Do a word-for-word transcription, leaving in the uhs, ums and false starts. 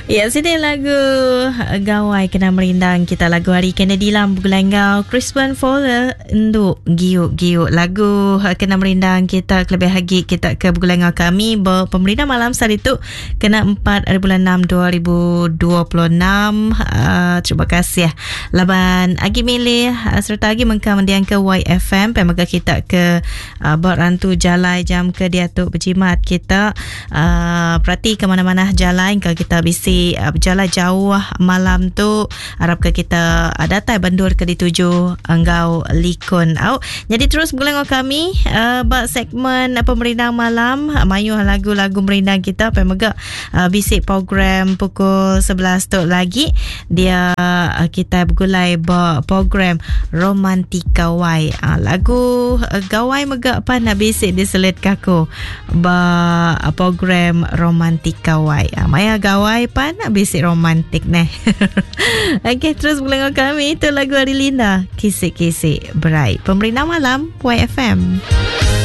Ya, sini lagu Gawai kena merindang kita lagu hari Kennedy Lam begulai enggau Crispin Fowler Endu Giuk Giuk lagu kena merindang kita kelebih lagi kita ke begulai enggau kami ber pemerindang malam hari tu kena empat hari bulan enam dua ribu dua puluh enam. Uh, terima kasih laban agi milih uh, serta agi mengkang mendiang ke Y F M pemaga kita ke uh, berantu jalai jam ke diatu berjimat kita uh, perhati ke mana-mana jalan kalau kita bisi berjalan jauh malam tu harap ke kita datai bandur ke dituju enggau likun au. Jadi terus begulai dengan kami uh, bak segmen pemerindang malam mayuh lagu-lagu merindang kita pemega uh, bisik program pukul sebelas tu lagi dia uh, kita bergulai bak program Romantika Y. Uh, lagu uh, gawai mega pan nak bisik diselit kaku bak program Romantika Y. Uh, maya gawai pan nak bisik romantik neh. Okey, terus boleh dengan kami. Itu lagu Ari Linda, Kisik-Kisik Berai. Pemerintah Malam Y F M.